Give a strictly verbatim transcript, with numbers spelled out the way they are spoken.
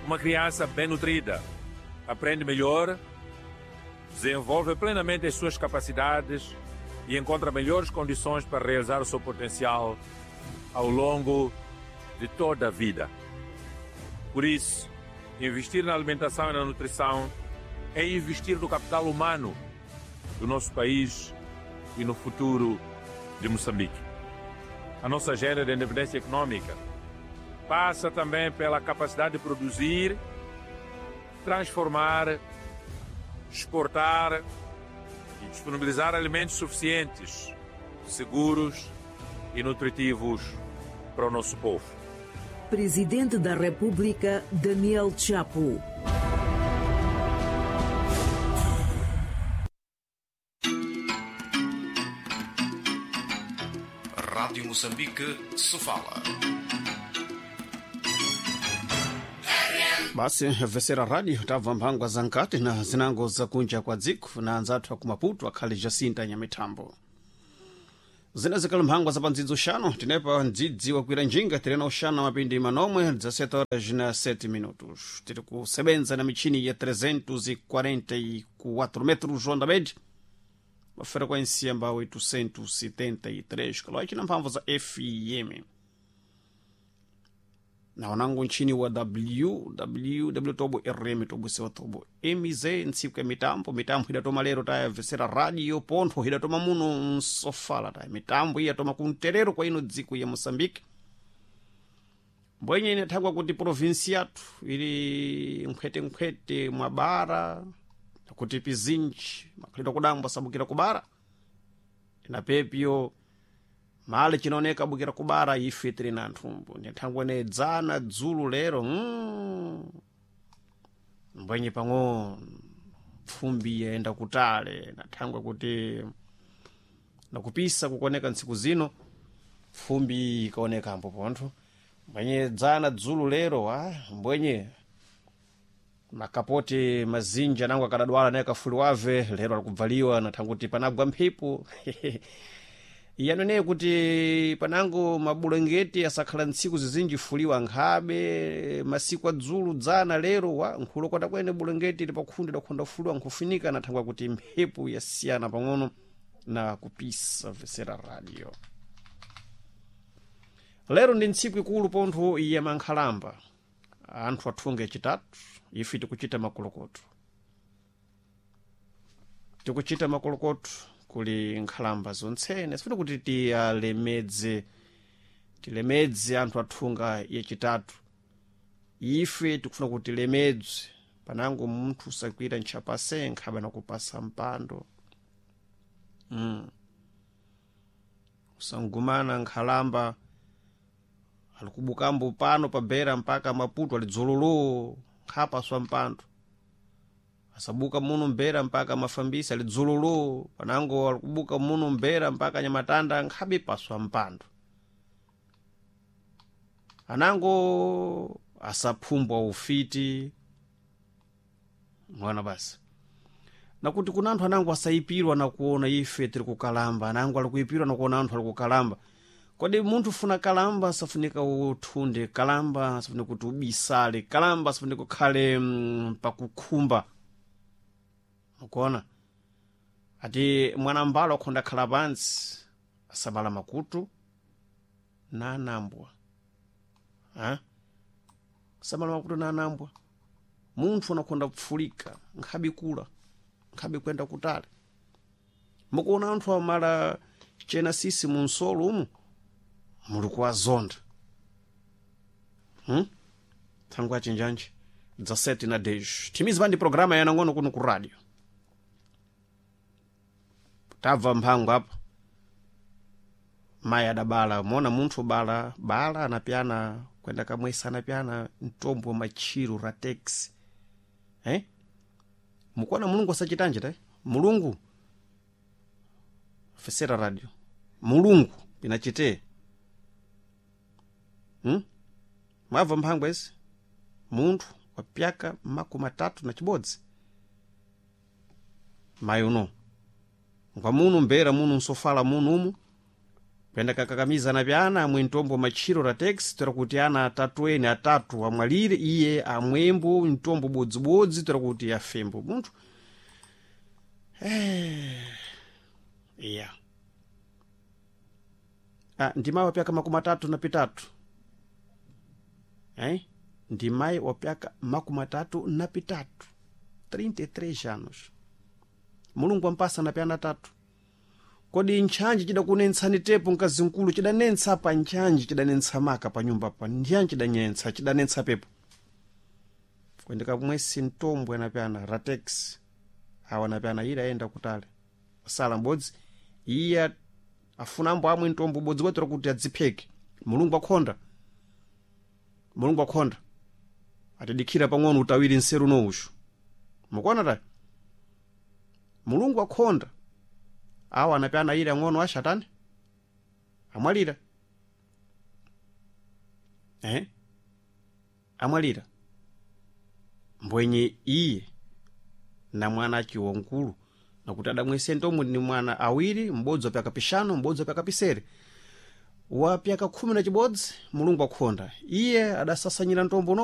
Uma criança bem nutrida aprende melhor, desenvolve plenamente as suas capacidades e encontra melhores condições para realizar o seu potencial ao longo de toda a vida. Por isso, investir na alimentação e na nutrição é investir no capital humano do nosso país e no futuro de Moçambique. A nossa agenda de independência econômica passa também pela capacidade de produzir, transformar, exportar e disponibilizar alimentos suficientes, seguros e nutritivos para o nosso povo. Presidente da República, Daniel Chapo. Rádio Moçambique, Sofala. Basi vesera radio tabva mphangwa za nkati na zinango zakunja kwa dziko na anzathu aku Maputo akhali Jacinta Nyamithambo. Zina zikali mphangwa za pandzidzo xano tinepa mdzidzi wakwira njinga tirena uxana mapindi manomwe dezessete horas na sete minutos. Tiri kusebenza na michini ya trezentos e quarenta e quatro metros onda média uma frequência mba oitocentos e setenta e três kHz na mphamvu za F M. Na wanangu nchini wa W W W tobo R M tobo sewa tobo M Z ntsiku ya mitambo mitambo idatoma lero taya vesera radio pontho idatoma muno nsofala taya mitambo iyatoma kunterero kwa ino dziko ya Moçambique. Mbwenye inathakwa kuti provinsi yathu ili nkhwete-nkhwete mwa bara kuti pizinji makhalidwe kudambwa sabukira kubara ina pepyo mali chinaoneka abukira kubara ife tili na nthumbu nthangwe ne dzana dzulu lero mm. Mbwenye pang'ono pfumbi yaenda kutale nathangwe kuti nakupisa kukoneka ntsiku zino pfumbi ikaoneka ambo pontho mbwenye dzana dzulu lero ah, mbwenye makapoti mazinja nango akadadwala naye kafuliwave lero alikubvaliwa nathanguti panagwa mphepo iyanoneye kuti panango mabulengeti asakhala ntsiku zizinji fuliwa nkhabe masiku adzulu dzana lero wa nkhulokota kwene bulengeti lipakhunde dakhonda fuliwa nkhufunika nathangwa kuti mphepo yasiyana pang'ono na kupisa vesera radio. Lero ndi ntsiku ikulu pontho ya mankhalamba anthu athunge chitatu ife tikuchita makolokoto tikuchita makolokoto kuli nkhalamba zontsene sifuna kuti tiyalemedze tilemedze anthu athunga yachitatu ife tikufuna kuti tilemedze panango munthu usakwira ntchapase nkhaba nakupasa mpando mm. Usangumana nkhalamba alikubukambo pano pabera mpaka Maputo alidzololo nkhapaswa mpando asabuka muno mbera mpaka mafambisi alidzololo panango alikubuka muno mbera mpaka nyamatanda nkhabe paswa mpando anango asaphumbwa ufiti mwana basi nakuti kuna anthu anango asayipirwa nakuona ife tiri kukalamba anango alikuipirwa nakuona anthu alikukalamba. Kodi munthu ufuna kalamba safunika uthunde kalamba safunika kuti ubisale kalamba safunika ukhale mm, pakukhumba mukuona ati mwanambalo akhonda khala pansi asabala makutu na anambwa ha? Asabala makutu na anambwa munthu anakhonda kupfulika nkhabe kula nkhabe kwenda kutali mukuona anthu amala chena sisi munsolo umu muli kuwazonda hmm? Thangu achinjanji dezessete na dez timizi pandi programa yanang'ono kuno ku radio tabva mphango apa mayi adabala mona munthu bala bala anapyana kwenda kamwesa anapyana mtombo machiro ratex eh? Mukuona mulungu asachitanje ta mulungu fesera radio mulungu inachite hmm? Mwabva mphango ezi munthu wapyaka makumi atatu na chibodzi mayi uno ngwa muno mbera muno nsofala muno umu Kuyenda kakakamiza na pyana amwe mtombo matchiro ra taxi tora kuti ana atatu ene atatu amwalire, iye amwembo mtombo bodzibodzi tora kuti afembo munthu. Eh, iya ah, ndimayi wapyaka makumi atatu na pitatu, eh? Ndimayi wapyaka makumi atatu na pitatu, trinta e três anos. Mulungu ampasa na pyana atatu. Kodi ntchanji chidakunentsani tepo mkazi mkulu? Chidanentsa pa ntchanji, chidanentsa maka pa nyumba pa ntchanji, chidanentsa chidanentsa pepo kuendeka mwesi mtombo anapyana ratex awa anapyana ile ayenda kutale sala mbodzi iye afunambo amwe mtombo ubodzi wetera kuti adzipheke. Mulungu akhonda, Mulungu akhonda atidikhira pang'ono utawiri nseru nouxu mukuona tayi. Mulungu akhonda awa anapyana ile ang'ono ashatani amwalira, eh? Amwalira mbwenye iye na mwana achiwa nkulu nakuti adamwese ntomwe ni mwana awiri, m'bodzi wapyaka pixanu, m'bodzi wapyaka pisere, wapyaka khumi na chibodzi. Mulungu akhonda iye adasasanyira ntombo.